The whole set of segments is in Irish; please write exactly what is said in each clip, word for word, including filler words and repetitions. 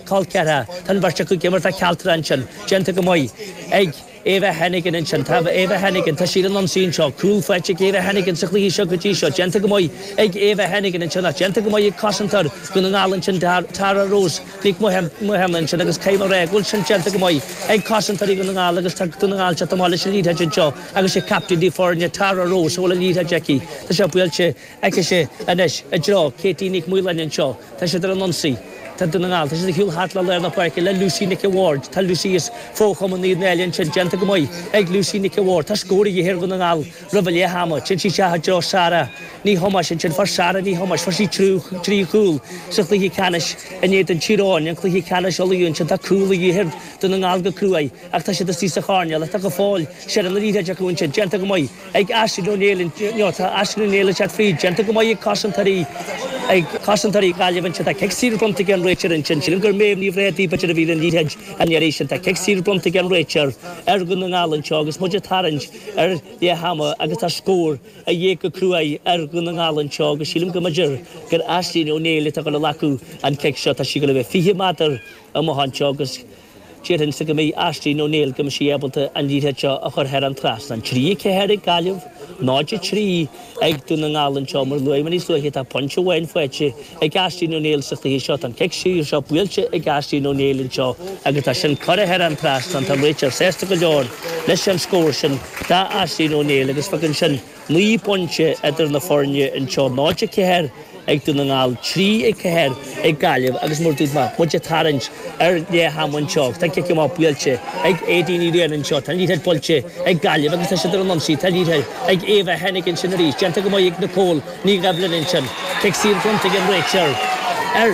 col ceathracha. Tá an bheirt acu ag imirt do Chealtra ansin. Déanta go maith ag Eva Hennigan ansin. Tá Eva Hennigan, tá sí ar an ionsaí anseo. Cúl faighte ag Eva Hennigan sa chluiche seo go dtí seo. Déanta go maith ag Eva Hennigan ansin ach déanta go maith ag cosantóir Dhún na nGall ansin Tara Rose Nic Mathúna ansin agus caithfidh mé a rá go bhfuil sin déanta go maith ag cosantóirí Dhún na nGall agus tá Dún na nGall teacht amach leis an liathróid anseo agus sé captaen na foirne Tara Rose a bhfuil an liathróid aici. Tá sé buailte aici anois i dtreo Katie Nic Maoláin anseo. Tá siad ar an ionsaí. Tá Dún na nGall, tá siad ag siúl thart le lár na páirce le Lucy Nic a' Bhaird. Tá Lucy as fo-chumann Naomh Náille ansin, déanta go maith ag Lucy Nic a' Bhaird. Tá scór a dhíth ar Dhún na nGall roimh leath ama. Téann sí isteach i dtreo Sarah Ní Thomáis ansin. Fuair Sarah Ní Thomáis, fuair sí trí chúl sa chluiche ceannais in éadan Tír Eoghain, an cluiche ceannais Uladh ansin. Tá cúl a dhíth ar Dhún na nGall go cruaidh ach tá siad istigh sa choirnéal ach tá go fóill seilbh na liathróide acu ansin. Déanta go maith ag Aisling O'Neill, no, tá Aisling O'Neill ag teacht fríd. Déanta go maith ag cosantóirí. Ag cosantóirí Ghaillimh ansin, tá cic saor bronnta ag an réiteoir ansin. Sílim gur Méabh Ní Bhréadaí b'fhéidir a bhí ar an liathróid an iarraidh sin. Tá cic saor bronnta ag an réiteoir ar Dhún na nGall anseo agus muid ag tarraingt ar leath ama agus tá scór a dhíth go cruaidh ar Dhún na nGall anseo agus sílim go mb'fhéidir gur Aisling O'Neill atá ag dul a ghlacadh an cic seo. Tá sí ag dul a bheith fiche méadar amach anseo agus déarfainnse go mbeidh Aisling O'Neill, go mbeidh sí ábalta an liathróid seo a chur thar an trasnán. Trí a ceathair ag Gaillimh, náid a trí ag Dún na nGall anseo. Mar a luaigh mé níos luaithe, tá pointe amháin faighte ag Aisling O'Neill sa chluiche seo. Tá an cic saor seo buailte ag Aisling O'Neill anseo agus tá sin curtha thar an trasnán. Tá an réiteoir sásta go leor leis an scór sin d'Aisling O'Neill agus fágann sin naoi bpointe idir na foirne anseo, náid a ceathair ag Dún na nGall, trí a ceathair ag Gaillimh agus mar a dúirt mé, muid ag tarraingt ar leath ama anseo. Tá an cic amach buailte ag Aedín Ní Riain anseo, tá an liathróid buailte ag Gaillimh agus tá siad ar an ionsaí, tá an liathróid ag Eva Hennigan ansin arís, déanta go maith ag Nicole Ní Dhoibhlin ansin, cic saor bronnta ag an réiteoir ar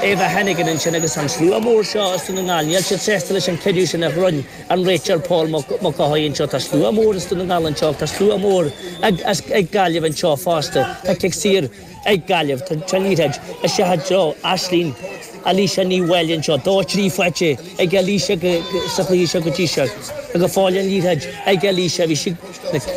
Eva Hennigan ansin agus an slua mór seo as Dún na nGall, níl siad sásta leis an cinneadh sin a rinne an réiteoir Paul Mac Cárthaigh anseo. Tá slua mór as Dún na nGall anseo, tá slua mór ag Gaillimh anseo fosta. Tá cic saor ag Gaillimh. Tá an liathróid isteach i dtreo Aisling Alicia Ní Mháille anseo. Dó trí faighte ag Alicia sa chluiche seo go dtí seo. Tá go fóill an liathróid ag Alicia. Bhí sí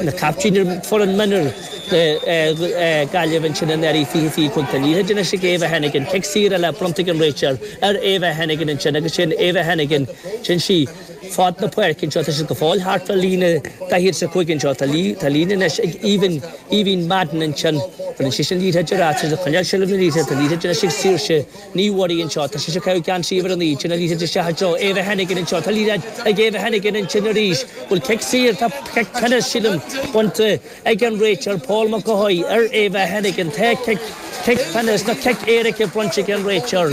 ina caiptín ar foireann mionúr Gaillimh ansin anuraidh fiche fiche cúig. Tá an liathróid anois ag Eva Hennigan. Cic saor eile bronnta ag an réiteoir ar Eva Hennigan ansin agus sin Eva Hennigan. Sin sí fad na páirce anseo. Tá siad go fóill thart fá líne daichead is a cúig anseo. Tá líne anois ag Aoibhinn, Aoibhinn Madden ansin. Baineann sí an liathróid ar ais. Tá siad ag coinneáil seilbh na liathróide. Tá an liathróid anois ag Saoirse Ní Mhuirí anseo. Tá sise ag caitheamh geansaí uimhir a naoi. Téann an liathróid isteach i dtreo Eva Hennigan anseo. Tá liathróid ag Eva Hennigan ansin arís. Bhfuil cic saor? Tá cic pionóis, sílim, bainte ag an réiteoir Paul Mac Cárthaigh ar Eva Hennigan. Tá cic, cic pionóis nó cic éirice bronnta ag an réiteoir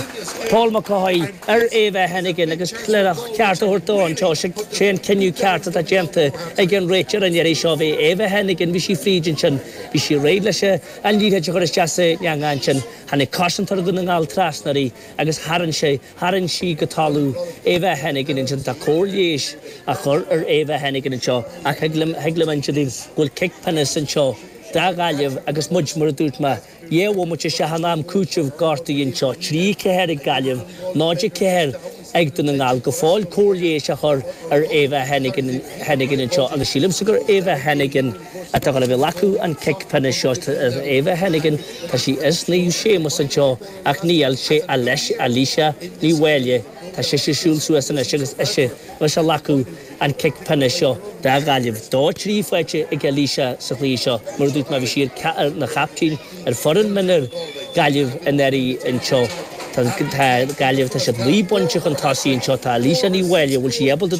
Paul Mac Cárthaigh ar Eva Hennigan agus le a ceart a thabhairt dó anseo, sé an cinneadh ceart atá déanta ag an réiteoir an iarraidh seo. Bhí Eva Hennigan, bhí sí fríd ansin, bhí sí réidh leis an liathróid a chur isteach sa eangach ansin. Tháinig cosantóir Dhún na nGall trasna uirthi agus tharraing sé, tharraing sí go talamh Eva Hennigan ansin. Tá cóir leighis á chur ar Eva Hennigan anseo ach thig liom, thig liom inse daoibh go bhfuil cic pionóis anseo do Ghaillimh agus muid, mar a dúirt mé, dhá bhomaite isteach in am cúitimh gortaithe anseo, trí ceathair ag Gaillimh, náid a ceathair ag Dún na nGall. Go fóill cóir leighis á chur ar Eva Hennigan, Hennigan anseo agus sílimse gur Eva Hennigan atá ag dul a bheith ag glacadh an cic pionóis seo. Eva Hennigan, tá sí as Naomh Séamus anseo ach níl, sé Alicia Ní Mháille, tá sise ag siúl suas anois agus ise a bheas ag glacadh an cic pionóis seo do Ghaillimh. Dó trí faighte ag Alicia sa chluiche seo. Mar a dúirt mé, bhí sí ina captaen ar foireann mionúr Gaillimh anuraidh anseo. Tá Gaillimh, tá siad naoi bpointe chun tosaigh anseo. Tá Alicia Ní Mháille, bhfuil sí ábalta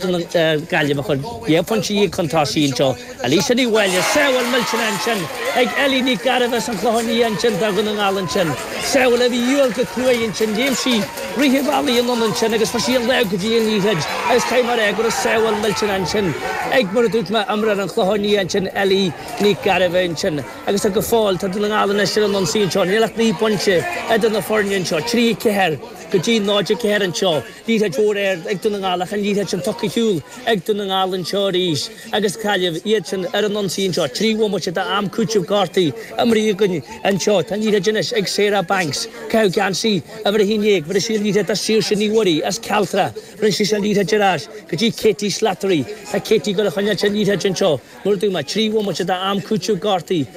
Gaillimh a chur dhá phointe dhéag chun tosaigh anseo. Alicia Ní Mháille, sábháil millteanach ansin ag Ellie Ní Ghairbhith as an Chlochán Liath ansin do Dhún na nGall ansin. Sábháil a bhí de dhíobháil go cruaidh ansin. Léim sí rith an bhealaigh anonn ansin agus fuair sí an lámh go dtí an liathróid agus caithfidh mé a rá go raibh sábháil millteanach ansin ag, mar a dúirt mé, imreoir an Chlocháin Liath ansin, Ellie Ní Ghairbhith ansin. Agus tá go fóill, tá Dún na nGall anois ar an ionsaí anseo. Níl ach naoi bpointe idir na foirne anseo, trí a ceathair go dtí náid a ceathair anseo. Liathróid mhór ard ag Dún na nGall ach an liathróid sin tugtha ar shiúl ag Dún na nGall anseo arís agus Gaillimh, iad sin ar an ionsaí anseo. Trí bhomaite d'am cúitimh gortaithe imeartha againn anseo. Tá an liathróid anois ag Sarah Banks. Caitheamh geansaí uimhir a haon déag. Bhris sí an liathróid do Saoirse Ní Mhuirí as Cealtra. Rinne sí an liathróid ar ais go dtí Katie Slattery. Tá Katie ag dul a choinneáil an liathróid anseo. Mar a dúirt mé, trí bhomaite d'am cúitimh gortaithe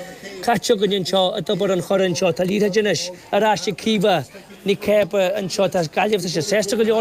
caite againn anseo i dTobar an Choire anseo. Tá liathróid anois ar ais ag Caoimhe Ní Chéibe anseo. Tá Gaillimh, tá siad sásta go leor.